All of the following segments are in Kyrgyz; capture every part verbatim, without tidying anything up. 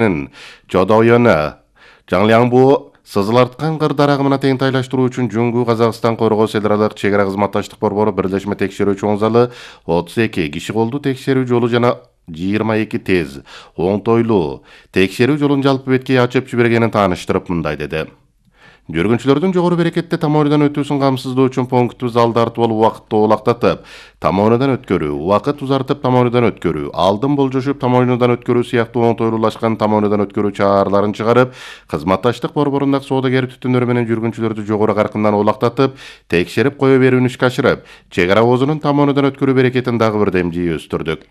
Чодойону, Жаңлянбу сызыларткан кыр дарагына тең тайлаштыруу үчүн Жуңгу Казакстан Коргоо Федералдык чек ара кызматташтык борбору бирлешме текшерүү чоң залы отуз эки киши колду текшерүү жолу жана жыйырма эки тез, оңтойлуу текшерүү жолун жалпы бетке ачып жибергенин тааныштырып мындай деди. Жүргүнчүлөрдүн жогору берекетте тамооnudan өтүүсүн камсыздоо үчүн пунктту залды артып алып убакытты олактатып, тамооnudan өткөрүү, убакыт узартып тамооnuдан өткөрүү, алдын болжошуп тамооnuдан өткөрүү сыяктуу оңтойлуулашкан тамооnuдан өткөрүү чараларын чыгарып, кызматташтык борборундагы соодагер түтүндөр менен жүргүнчүлөрдү жогору каркындан олактатып, текшерип кое берүүнү ишке ашырып, чек ара оозунун тамооnuдан өткөрүү берекетин дагы бир демжи өстүрдүк.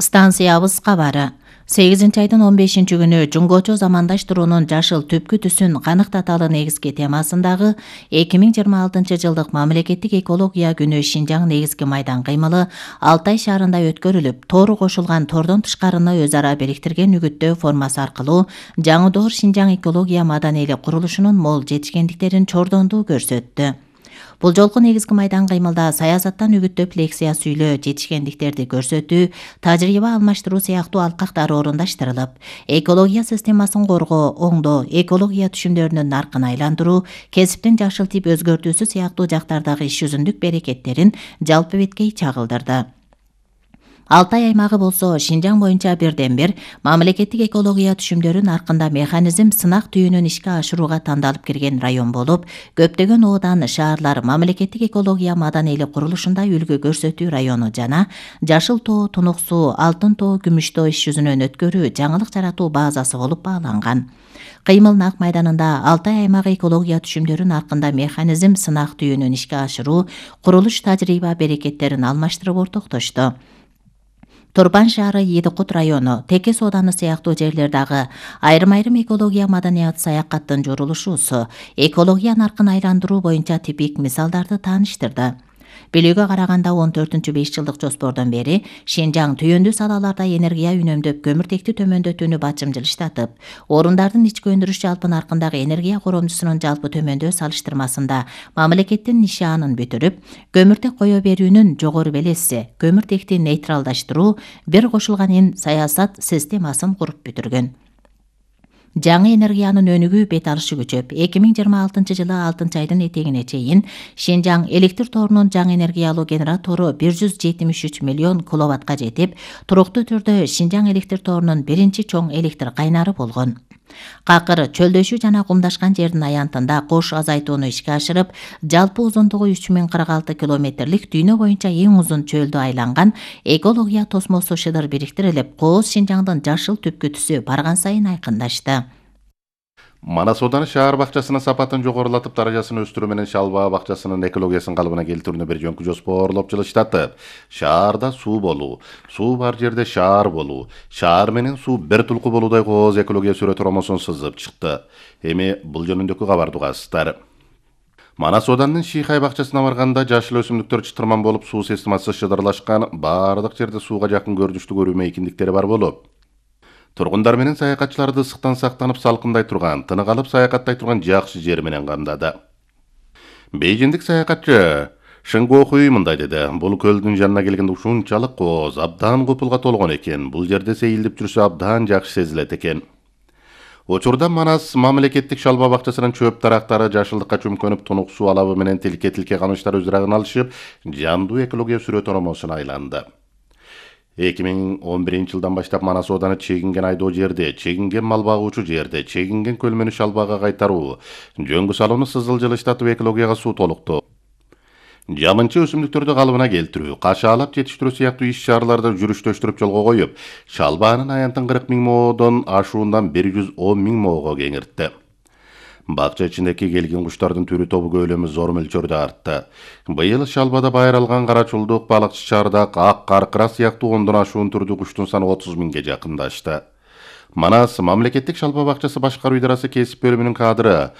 Станциябыз кабары. сегизинчи айдын он бешинчи күнү Жуңгочо замандаштыруунун жашыл түпкү түсүн каныктаталы негизги темасындагы эки миң жыйырма алтынчы жылдык мамлекеттик экология күнү Шинжаң негизги майдан кыймылы Алтай шаарында өткөрүлүп, тоору кошулган тордон тышкарыны өз ара бириктирген үгүттөө формасы аркылуу жаңы доор Шинжаң экология маданийлик курулушунун мол жетишкендиктерин чордондуу көрсөттү. Бул жолку негизги майдан кыймылда саясаттан үгүттөп лекция сүйлөө, жетишкендиктерди көрсөтүү, тажрыйба алмаштыруу сыяктуу алкактар орундаштырылып, экология системасын коргоо, оңдоо, экология түшүмдөрүнүн наркын айландыруу, кесиптин жашыл тип өзгөртүүсү сыяктуу жактардагы иш жүзүндүк берекеттерин жалпы бетке чагылдырды. Алтай аймагы болсо Шинжаң боюнча бирден бир мамлекеттик экология түшүмдөрү наркында механизм сынак түйүнүн ишке ашырууга тандалып кирген район болуп, көптөгөн оодан, шаарлар мамлекеттик экология маданийлик курулушунда үлгү көрсөтүү району жана Жашыл тоо, Тунук суу, Алтын тоо, Күмүш тоо иш жүзүнөн өткөрүү, жаңылык жаратуу базасы болуп бааланган. Кыймыл нак майданында Алтай аймагы экология түшүмдөрү наркында механизм сынак түйүнүн ишке ашыруу, курулуш тажрыйба берекеттерин алмаштырып ортоктошту. Турпан шаары, Едикут району, Текес ооданы сыяктуу жерлердагы айрым-айрым экология маданият саякаттын журулушуусу, экология наркын айландыруу боюнча типик мисалдарды тааныштырды. Билүүгө караганда он төртүнчү беш жылдык жоспордон бери Шинжаң түйөндүү салаларда энергия үнөмдөп, көмүртекти төмөндөтүүнү бачым жылыштатып, орундардын ички өндүрүш жалпы наркындагы энергия коромдусунун жалпы төмөндөө салыштырмасында мамлекеттин нишаанын бүтүрүп, көмүртек кое берүүнүн жогору белеси, көмүртекти нейтралдаштыруу, бир кошулган ин саясат системасын куруп бүтүргөн. Жаңы энергиянын өнүгүү бет алышы күчөп, эки миң жыйырма алтынчы жылы алтынчы айдын этегине чейин Шинжаң электр торунун жаңы энергиялуу генератору бир жүз жетимиш үч миллион киловаттка жетип, туруктуу түрдө Шинжаң электр торунун биринчи чоң электр кайнары болгон. Какыр, чөлдөшүү жана кумдашкан жердин аянтында кош азайтууну ишке ашырып, жалпы узундугу үч миң кырк алты километрлик дүйнө боюнча эң узун чөлдү айланган экология тосмосу шыдыр бириктирилип, Кооз Шинжаңдын жашыл түпкү түсү барган сайын айкындашты. Манас ооданы шаар бакчасынын сапатын жогорулатып, даражасын өстүрүү менен Шалбаа бакчасынын экологиясын калыбына келтирүүнү бир жөнкү жоспорлоп жылыштатып, шаарда суу болуу, суу бар жерде шаар болуу, шаар менен суу бир тулку болуудай Кооз экология сүрөт ромосун сызып чыкты. Эми бул жөнүндөгү кабарды угасыздар. Манас ооданын Шийхай бакчасына барганда жашыл өсүмдүктөр чытырман болуп, суу системасы шыдырлашкан, баардык жерде сууга жакын көрүнүштүү көрүү мейкиндиктери бар болуп, тургундар менен саякатчыларды ысыктан сактанып салкындай турган, тынык алып саякаттай турган жакшы жер менен камдады. Бейжиндик саякатчы Шынгохуй мындай деди: бул көлдүн жанына келгенде ушунчалык Кооз абдан купулга толгон экен, бул жерде сейилдеп жүрсө абдан жакшы сезилет экен. Учурда Манас мамлекеттик Шалбаа бакчасынын чөп дарактары жашылдыкка чөмкөнүп, Тунук суу алабы менен тилке-тилке камыштар өз ырагын алышып, жандуу экология сүрөт ромосуна айланды. эки миң он биринчи жылдан баштап Манас ооданы чегинген айдоо жерде, чегинген мал багуучу жерде, чегинген көлмөнү Шалбаага кайтаруу, жөнгү салууну сызыл жылыштатып экологияга суу толуктоо, жамынчы өсүмдүктөрдү калыбына келтирүү, кашаалап жетиштирүү сыяктуу иш-чараларды жүрүштөштүрүп жолго коюп, Шалбаанын аянтын кырк миң моодон ашуундан бир жүз он миң моого кеңиртти. Бакча ичиндеги келген куштардын түрү тобу көлөмү зор мөлчөрдө артты. Быйыл Шалбада байралган карачулдук, балыкчы чардак, ак каркыра сыяктуу ондон ашуун түрдүү куштун саны отуз миңге жакындашты. Манас мамлекеттик Шалбаа бакчасы башкаруу идарасы кесип бөлүмүнүн кадры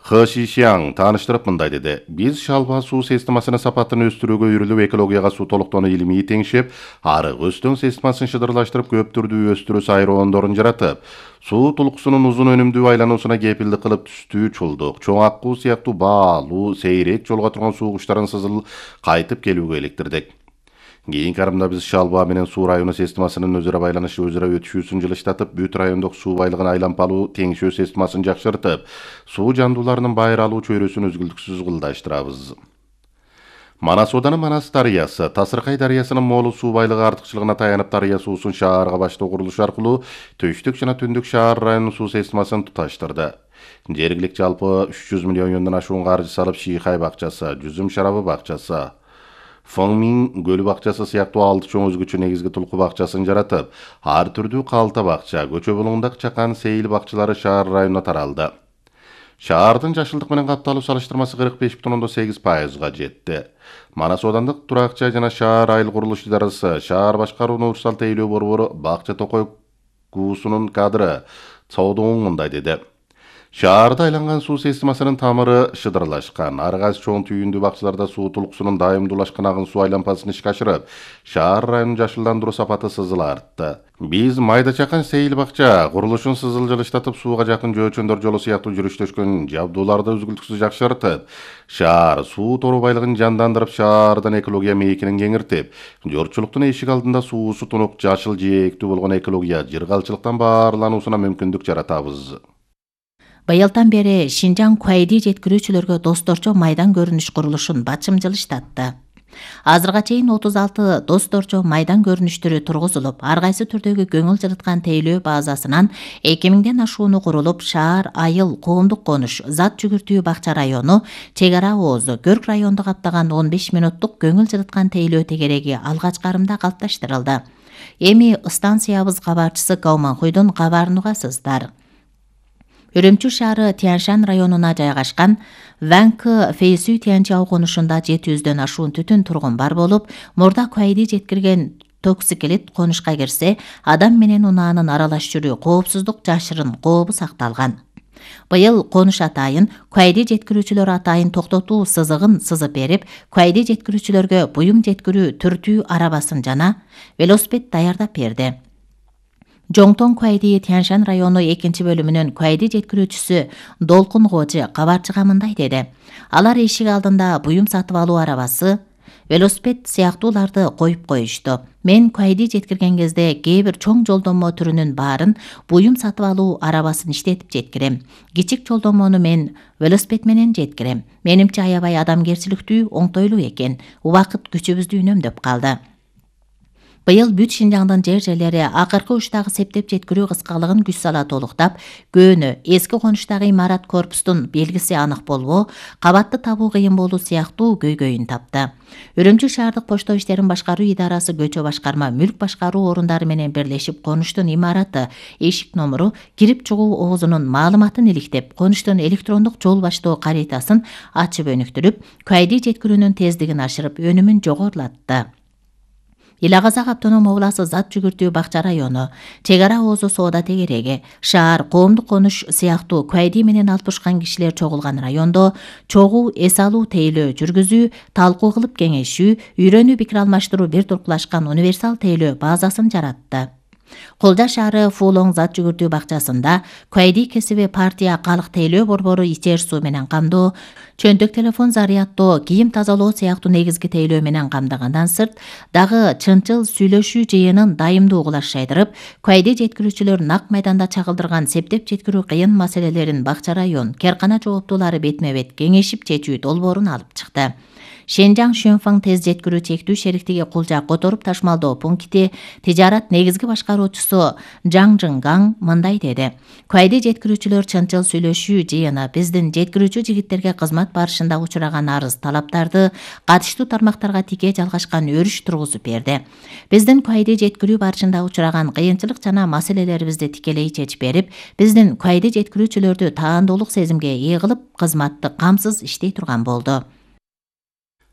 Хы Шишяң тааныштырып мындай деди: биз Шалбаа суу системасынын сапатын өстүрүүгө үйрүлүп, экологияга суу толуктоону илимий теңшеп, арык өстөн системасын шыдырлаштырып, көп түрдүү өстүрүү сайроондорун жаратып, суу тулкусунун узун өнүмдүү айлануусуна кепилдик кылып, түстүү чулдук, чоң аккуу сыяктуу баалуу, сейрек жолго турган суу куштарын сызыл кайтып келүүгө иликтирдик. Кийинки арымда биз Шалба менен Суу району системасынын өзара байланышы өзара өтүшүүсүн жылыштатып, бүт райондук суу байлыгын айланпалуу теңшөө системасын жакшыртып, суу жандууларынын байыр алуу чөйрөсүн үзгүлтүксүз кылдаштырабыз. Манас Ооданы Манас дарыясы, Тасыркай дарыясынын молу суу байлыгы артыкчылыгына таянып дарыя суусун шаарга баштоо курулуш аркылуу Төштүк жана Түндүк шаар районунун суу системасын туташтырды. Жергилик жалпы үч жүз миллион юандан ашуун каржы салып Шийхай бакчасы, Жүзүм шарабы бакчасы, Фыңмин көлү бакчасы сыяктуу алты чоң өзгөчө негизги тулку бакчасын жаратып, ар түрдүү калта бакча, Көчө Булуңдак Чакан сейил бакчалары шаар районуна таралды. Шаардын жашылдык менен капталуу салыштырмасы кырк беш бүтүн ондон сегиз пайызга жетти. Манас Оодандык турак жай жана шаар айыл курулуш идарасы, шаар башкаруу Урсал тейлөө борбору Бакча Токой куусунун кадры Цоодоң мындай деди. Шаарда айланган суу системасынын тамыры шыдырлашкан. Ар кайсы чоң түйүндүү бакчаларда суу тулкусунун дайымдуулашкан агын суу айланпасын ишке ашырып, шаар районун жашылдандыруу сапаты сызыла артты. Биз Майда Чакан сейил бакча курулушун сызыл жылыштатып, сууга жакын жөөчөндөр жолу сыяктуу жүрүштөшкөн жабдууларды үзгүлтүксүз жакшыртып, шаар суу тору байлыгын жандандырып, шаардын экология мейкинин кеңиртип, жортчулуктун эшик алдында суусу тунук жашыл жээктүү болгон экология жыргалчылыктан баарлануусуна мүмкүндүк жаратабыз. Быйылдан бери Шинжаң Куайди жеткирүүчүлөргө досторчо майдан көрүнүш курулушун бачым жылыштатты. Азырга чейин отуз алты досторчо майдан көрүнүштөрү тургузулуп, ар кайсы түрдөгү көңүл жылыткан тейлөө базасынан эки миңден ашууну курулуп, шаар, айыл, коомдук конуш, зат жүгүртүү бакча району, чек ара оозу, Көрк районду каптаган он беш мүнөттук көңүл жылыткан тейлөө тегереги алгач карымда калыпташтырылды. Эми станциябыз кабарчысы Гауманхуйдун кабарын угасыздар. Үрүмчү шаары Тяншан районуна жайгашкан Ванкы Фейсүй Тянчау конушунда жети жүздөн ашуун түтүн тургун бар болуп, мурда Куайди жеткирген токсикелит конушка кирсе, адам менен унаанын аралаш жүрүү коопсуздук жашырын кообу сакталган. Быйыл конуш атайын Куайди жеткирүүчүлөр атайын токтотуу сызыгын сызып берип, Куайди жеткирүүчүлөргө буюм жеткирүү түртүү арабасын жана велосипед даярдап берди. Жоңтон Куайди Тяншан району экинчи бөлүмүнүн Куайди жеткирүүчүсү Долкун Кожи кабарчыга мындай деди. Алар эшик алдында буюм сатып алуу арабасы, велосипед сыяктууларды коюп коюшту. Мен Куайди жеткирген кезде кээ бир чоң жолдомо түрүнүн баарын буюм сатып алуу арабасын иштетип жеткирем. Кичик жолдомону мен велосипед менен жеткирем. Менимче аябай адамгерчиликтүү, оңтойлуу экен. Убакыт күчүбүздү үнөмдөп калды. Быйыл бүт Шинжаңдын жер-жерлери акыркы учтагы септеп жеткирүү кыскалыгын күч сала толуктап, көөнү эски конуштагы имарат корпустун белгиси анык болбоо, кабатты табуу кыйын болуу сыяктуу көйгөйүн тапты. Үрүмчү шаардык почто иштерин башкаруу идарасы көчө башкарма мүлк башкаруу орундары менен бирлешип конуштун имараты, эшик номеру, кирип чыгуу оозунун маалыматын иликтеп, конуштун электрондук жол баштоо каритасын ачып өнүктүрүп, Куайди жеткирүүнүн тездигин ашырып, өнүмүн жогорулатты. Ил Агазак автоном обласы зат жүгүртүү бакча району, чек ара оозу соода тегереги, шаар, коомдук конуш сыяктуу Куайди менен алпышкан кишилер чогулган райондо чогуу эс алуу тейлөө жүргүзүү, талкуу кылып кеңешүү, үйрөнүү пикир алмаштыруу бир туркулашкан универсал тейлөө базасын жаратты. Колжа шаары Фуулоң зат жүгүртүү бакчасында Куайди кесиби партия калык тейлөө борбору ичер суу менен камдоо, чөнтөк телефон зарядтоо, кийим тазалоо сыяктуу негизги тейлөө менен камдагандан сырт, дагы чынчыл сүйлөшүү жыйынын дайымдуу кылаш жайдырып, Куайди жеткирүүчүлөр нак майданда чагылдырган септеп жеткирүү кыйын маселелерин бакча район, керкана жооптуулары бетме-бет кеңешип чечүү долбоорун алып чыкты. Шенжаң Шөнфаң тез жеткирүү чектүү шериктиги кулжа которуп ташмалдоо пункти тижарат негизги башкаруучусу Жаң Жыңгаң мындай деди. Куайди жеткирүүчүлөр чынчыл сүйлөшүү жыйыны биздин жеткирүүчү жигиттерге кызмат барышында учураган арыз талаптарды катыштуу тармактарга тике жалгашкан өрүш тургузуп берди. Биздин Куайди жеткирүү барышында учураган кыйынчылык жана маселелерибизди тикелей чечип берип, биздин Куайди жеткирүүчүлөрдү таандуулук сезимге ээ кылып, кызматты камсыз иштей турган болду.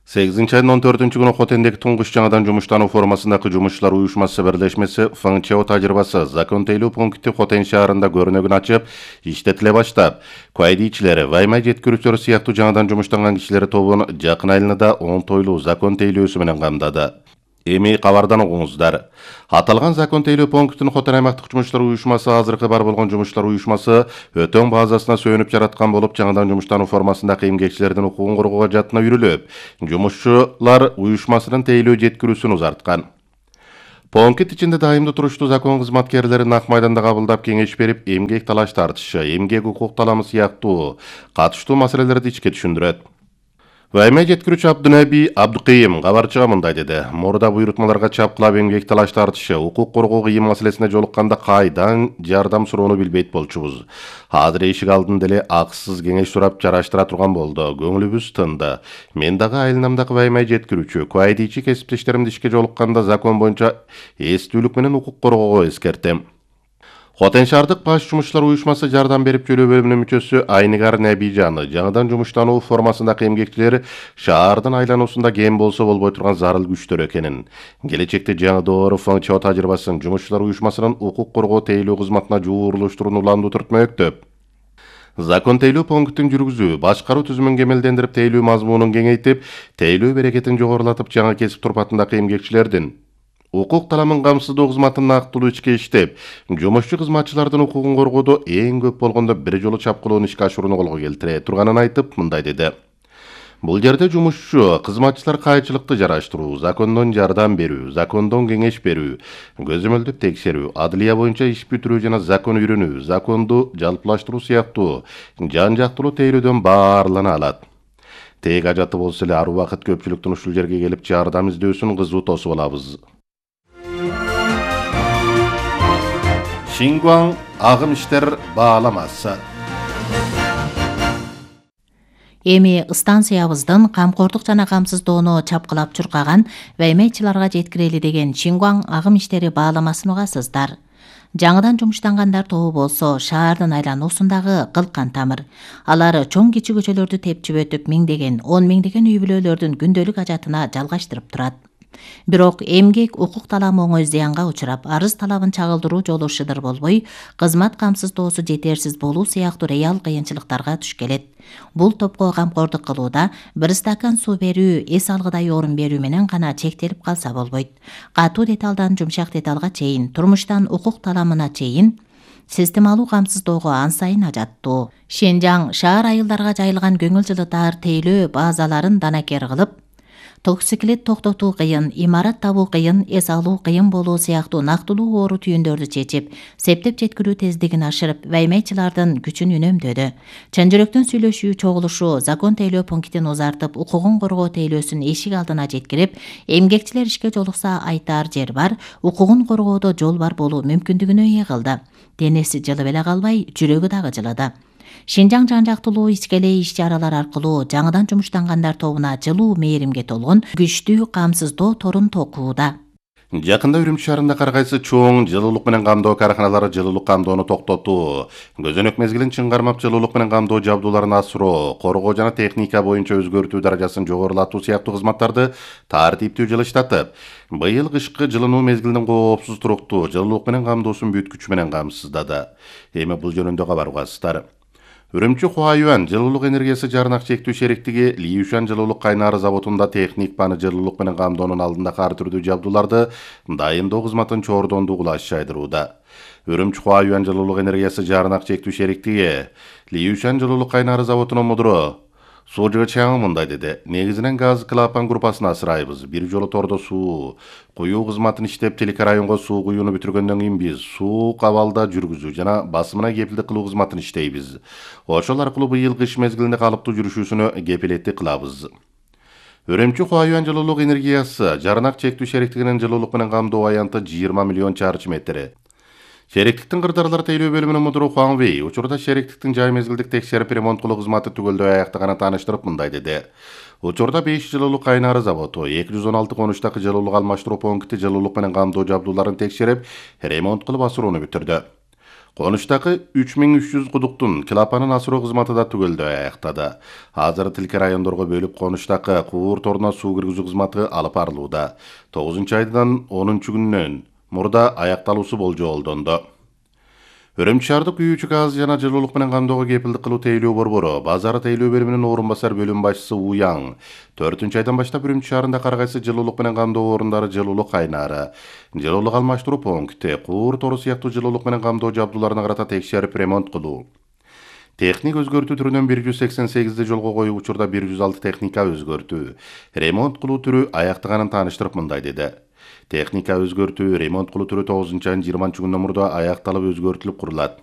сегизинчи айдын он төртүнчү күнү Хотендеги туңгуч жаңадан жумуштануу формасындагы жумушчулар уюшмасы бирлешмеси Фыңчео тажрыйбасы закон тейлөө пункти Хотен шаарында көрүнөгүн ачып, иштетиле баштап, Куайдичилери, ваймай жеткирүүчүлөр сыяктуу жаңадан жумуштанган кишилер тобун жакын айларда оңтойлуу закон тейлөөсү менен камдады. Эми кабардан угуңуздар. Аталган закон тейлөө пунктунун Хотон аймактык жумушчулар уюшмасы азыркы бар болгон жумушчулар уюшмасы өтөң базасына сүйөнүп жараткан болуп, жаңыдан жумуштануу формасындагы эмгекчилердин укугун коргоого жаатына үйрүлүп, жумушчулар уюшмасынын тейлөө жеткирүүсүн узарткан. Пункт ичинде дайымдуу туруштуу закон кызматкерлери нак майданда кабылдап кеңеш берип, эмгек талаш тартышы, эмгек укук таламы сыяктуу катыштуу маселелерди ичке түшүндүрөт. Вайме жеткирүүчү Абдынаби Абдыкыйым кабарчыга мындай деди. Мурда буйрутмаларга чапкылап эмгек талаш тартышы, укук коргоо кыйын маселесине жолукканда кайдан жардам суроону билбейт болчубуз. Азыр эшик алдында деле акысыз кеңеш сурап жараштыра турган болду. Көңүлүбүз тынды. Мен дагы айланамдагы вайме жеткирүүчү, куайдийчи кесиптештеримди ишке жолукканда закон боюнча эстүүлүк менен укук коргоого эскертем. Хотон шаардык баш жумушчулар уюшмасы жардам берип жөлөө бөлүмүнүн мүчөсү Айнигар Набижаны жаңыдан жумуштануу формасындагы эмгекчилер шаардын айлануусунда кем болсо болбой турган зарыл күчтөр экенин, келечекте жаңы доору функчио тажрыйбасын жумушчулар уюшмасынын укук коргоо тейлөө кызматына жуурулуштурууну уланду түртмөктөп. Закон тейлөө пунктун жүргүзүү, башкаруу түзүмүн кемелдендирип, тейлөө мазмунун кеңейтип, тейлөө берекетин жогорулатып, жаңы кесип турпатындагы эмгекчилердин укук таламын камсыздоо кызматын нактылуу ичке иштеп, жумушчу кызматчылардын укугун коргоодо эң көп болгондо бир жолу чапкылоону ишке ашырууну колго келтире турганын айтып, мындай деди. Бул жерде жумушчу кызматчылар кайчылыкты жараштыруу, закондон жардам берүү, закондон кеңеш берүү, көзөмөлдөп текшерүү, адылия боюнча иш бүтүрүү жана закон үйрөнүү, законду жалпылаштыруу сыяктуу жан жактылуу тейлөөдөн баарлана алат. Тег ажаты болсо эле ар убакыт көпчүлүктүн ушул жерге келип жардам издөөсүн кызуу тосуп алабыз. Шингуан агым иштер бааламасы. Эми станциябыздын камкордук жана камсыздоону чапкылап чуркаган ваймечиларга жеткирели деген Шингуан агым иштери бааламасын угасыздар. Жаңыдан жумуштангандар тобу болсо шаардын айлануусундагы кылкан тамыр. Алар чоң кичи көчөлөрдү тепчип өтүп, миңдеген, он миңдеген үй бүлөлөрдүн күндөлүк ажатына жалгаштырып турат. Бирок эмгек укук таламы оңой зыянга учурап, арыз талабын чагылдыруу жолу шыдыр болбой, кызмат камсыздоосу жетерсиз болуу сыяктуу реал кыйынчылыктарга туш келет. Бул топко камкордук кылууда бир стакан суу берүү, эс алгыдай орун берүү менен гана чектелип калса болбойт. Катуу деталдан жумшак деталга чейин, турмуштан укук таламына чейин системалуу камсыздоого ан сайын ажаттуу. Шенжаң шаар айылдарга жайылган көңүл жылытаар тейлөө базаларын данакер кылып, токсиклет токтотуу кыйын, имарат табуу кыйын, эс алуу кыйын болуу сыяктуу нактылуу оору түйүндөрдү чечип, септеп жеткирүү тездигин ашырып, ваймечилардын күчүн үнөмдөдү. Чын жүрөктөн сүйлөшүү, чогулушуу, закон тейлөө пунктин узартып, укугун коргоо тейлөөсүн эшик алдына жеткирип, эмгекчилер ишке жолукса айтаар жер бар, укугун коргоодо жол бар болуу мүмкүндүгүнө ээ кылды. Денеси жылып эле калбай, жүрөгү дагы жылыды. Шинжаң жан жактылуу ичкелей иш-чаралар аркылуу жаңыдан жумуштангандар тобуна жылуу мээримге толгон күчтүү камсыздоо торун токууда. Жакында Үрүмчү шаарында ар кайсы чоң жылуулук менен камдоо карканалары жылуулук камдоону токтотуу, көзөнөк мезгилин чың кармап жылуулук менен камдоо жабдууларын асыроо, коргоо жана техника боюнча өзгөртүү даражасын жогорулатуу сыяктуу кызматтарды тартиптүү жылыштатып, быйыл кышкы жылынуу мезгилинин коопсуз туруктуу жылуулук менен камдоосун бүт күчү менен камсыздады. Эми бул жөнүндө кабар угасыздар. Үрүмчү Хуаюан жылуулук энергиясы жарнак чектүү шериктиги Лиюшан жылуулук кайнары заводунда техник баны жылуулук менен камдоонун алдындагы ар түрдүү жабдууларды дайындоо кызматын чордондуу кулаш жайдырууда. Үрүмчү Хуаюан жылуулук энергиясы жарнак чектүү шериктиги Лиюшан жылуулук кайнары заводунун мудуру Сужы Чаңы мындай деди. Негизинен газ клапан группасын асырайбыз. Бир жолу тордо суу куюу кызматын иштеп, телекарайонго суу куюуну бүтүргөндөн кийин биз суу кабалда жүргүзүү жана басымына кепилдик кылуу кызматын иштейбиз. Ошол аркылуу быйыл кыш мезгилинде калыптуу жүрүшүүсүнө кепилеттик кылабыз. Үрүмчү Хуаюан жылуулук энергиясы жарнак чектүү шериктигинин жылуулук менен камдоо аянты жыйырма миллион чарчы метр. Шериктиктин кырдаарлар тейлөө бөлүмүнүн мудуру Хуан Вэй учурда шериктиктин жай мезгилдик текшерип ремонт кылуу кызматы түгөлдөй аяктаганын тааныштырып мындай деди. Учурда беш жылуулук кайнары заводу, эки жүз он алты конуштагы жылуулук алмаштыруу пункти жылуулук менен камдоо жабдууларын текшерип, ремонт кылып асырууну бүтүрдү. Конуштагы үч миң үч жүз кудуктун клапанын асыруу кызматы да түгөлдөй аяктады. Азыр тилке райондорго бөлүп конуштагы куур торуна суу киргизүү кызматы алып барылууда. тогузунчу айдан онунчу күнүнөн мурда аякталуусу болжолдонду. Үрүмчү шаардык күйүүчү газ жана жылуулук менен камдоого кепилдик кылуу тейлөө борбору базары тейлөө бөлүмүнүн орун басар бөлүм башчысы Уяң төртүнчү айдан баштап Үрүмчү шаарында ар кайсы жылуулук менен камдоо орундары, жылуулук кайнаары, жылуулук алмаштыруу пункти, куур тору сыяктуу жылуулук менен камдоо жабдууларына карата текшерип ремонт кылуу. Техник өзгөртүү түрүнөн бир жүз сексен сегизди жолго коюп, учурда бир жүз алты техника өзгөртүү, ремонт кылуу түрү аяктаганын тааныштырып мындай деди. Техника өзгөртүү, ремонт кылуу түрү тогузунчу айдын жыйырманчы күнүнөн мурда аякталып өзгөртүлүп курулат.